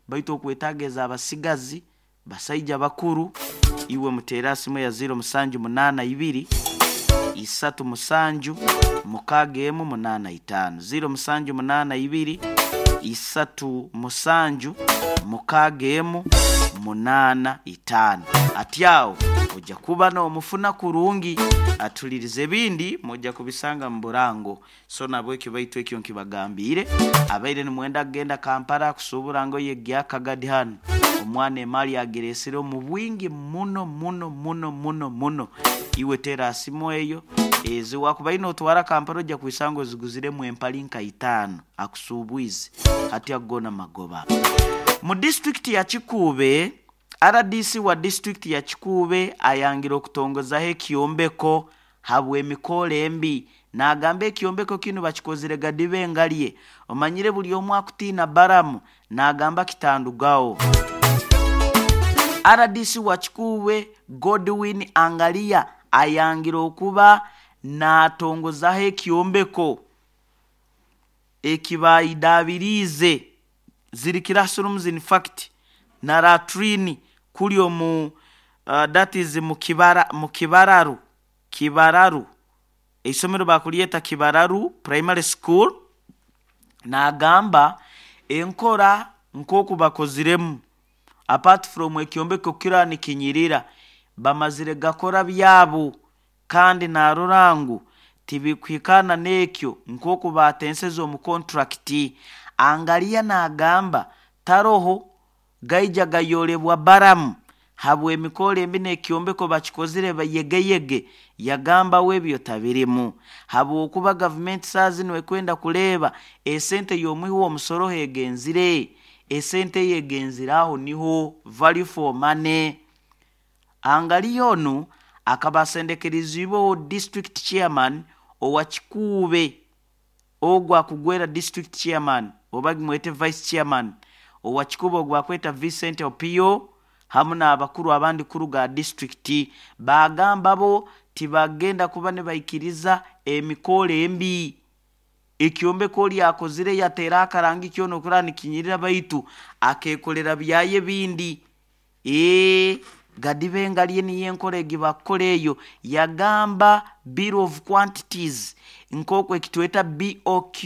Baitu okwetaaga ez'abasigazi, basaija bakuru, iwe muteera simu ya 0782 37 6185, 0782 37 6185. Ati awo ojja kuba n'omufuna kurungi. Atulirize, ebindi mujja kubisanga mu burango. So nabwekyo, baitu ekyo nkibagambiire, abaire nimwenda kugenda Kampala kusuubura ngoye gyakagadi, hanu omwana emaali agireesire omu bwingi muno muno muno muno muno. Iwe teera simu eyo, ezi wakubaire n'otwara Kampala ojja kwisanga oziguziremu empali nka itaano akusuubwize. Hati ago goona magoba. Mu disitulikiti ya Kikuube, RDC wa disitulikiti ya Kikuube ayangire okutongozaho ekyombeko habw'emikoolo embi. N'agamba ekyombeko kinu bakikozire gadibe engalye. Omanyire buli omu akutiina Baramu, n'agamba kitandugaho. RDC wa Kikuube Godwin Angalia ayangire okuba n'atongozaho ekyombeko ekibayidaabiriize, ziri classrooms in fact na latrine, kuli omu that is mu Kibararu, Kibararu, eisomero bakulyeta Kibararu Primary School. N'agamba enkora nk'oku bakoziremu, apart from ekyombeko kira nikinyirira, bamazire gakora byabo, kandi narora ngu tibikuhikaana n'ekyo nk'oku batenseze omu contract. Angalia n'agamba taroho gaija gayoolebwa Baramu habw'emikoro embi n'ekyombeko bakikozire yegeyege. Yagambawo ebyo tabirimu, habwokuba gavumenti saa zinu ekwenda kureeba esente y'omuhi w'omusoro hegenzire, esente eyo egenzire aho niho value for money. Angalia onu akaba asendekerizibweho district chairman owa Kikuube, ogwo akugwera district chairman oba gimwete vice chairman owa Kikuube, ogwo akweta Vincent Opio, hamu n'abakuru abandi kuruga disitulikiti. Bagamba bo tibagenda kuba nibaikiriza emikoro embi. Ekyombeko oli akozire yateera akarangi kyona okuraba nikinyirira, baitu akeekolera byayo ebindi. Ee, gadibe engalye niyo enkora egi bakukora eyo. Yagamba bill of quantities nk'oku ekitweta BOQ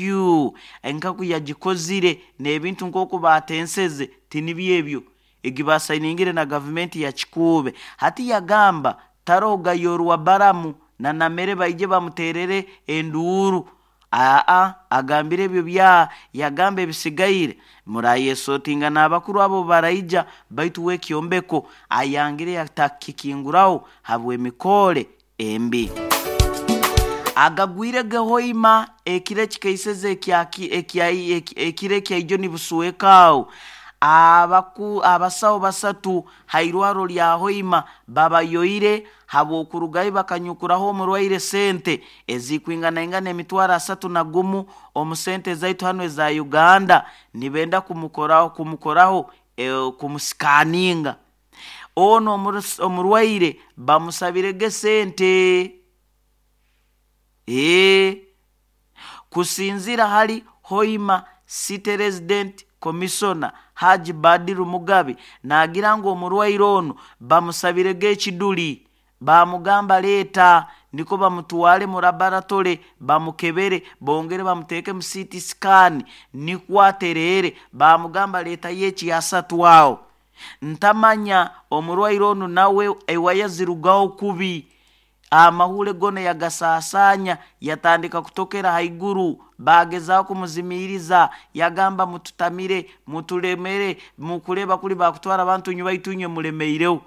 nkaku yagikozire n'ebintu nk'oku batenseze tinibyo ebyo egi basayiningire na gavumenti ya Kikuube. Hati yagamba taroho gayorwa Baramu na namere baije bamuterere enduuru. Aa, agambire ebyo bya yagamba ebisigaire murayesotinga n'abakuru abo baraija, baitu w'ekyombeko ayangire yatakikinguraho habw'emikore embi. Agagwire gehoima ekiro ekikaiseze ekiro ekyaijo nibuswekaawo, abasawo basatu hairwaro lya Hoima babayoire habw'okurugayo bakanyukuraho omurwaire sente ezikwinganaingana 31,000 omu sente zaitu hanu eza Uganda, nibenda kumukoraho kumusikaninga. Ono omurwaire bamusabirege sente. Ee, kusinzira hali Hoima City Resident Commissioner Haji Badiru Mugabe, naagira ngu omurwaire onu bamusabirege ekiduli, bamugamba leeta niko bamutwale mu laboratory bamukebere, bongere bamuteeke mu CT scan nikwo atereere. Bamugamba leetayo ekyasatu aho. Ntamanya omurwaire onu nawe ewaya zirugaho kubi, amahule gona yagasaasaanya, yatandika kutokera haiguru. Bagezaho kumuzimiiriza, yagamba mututamire, mutulemere, mukureba kuri bakutwara abantu nywe, baitu inywe mulemeireho.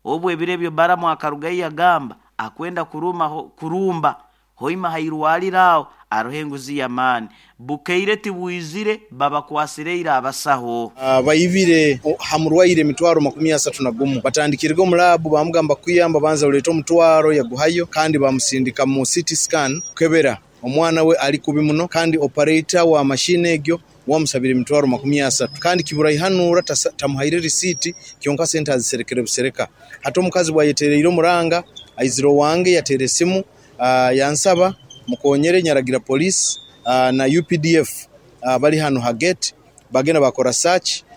Obu ebiro ebyo Baramu akarugayo yagamba akwenda kuruma kurumba Hoima hairwaliro aho aroho enguzi y'amaani. Bukeire tibwizire, babakwasireire abasaho. Baibire ha murwaire 31,000. Batandikirege omu laabu, bamugamba kukuyamba banza oleete omutwaro, yaguhayo, kandi bamusindika mu CT scan kukebera omwana we ali kubi muno, kandi operator wa mashini egyo wamusabire 30,000, kandi kiburaihanura tamuhaire risiiti, kyonka sente aziserekere busereka. Hati omukazi bwayetereire omuranga aizire owange, yateera esimu yansaba mukonyere. Nyaragira police na UPDF bali hanu ha gate, bagenda bakora search.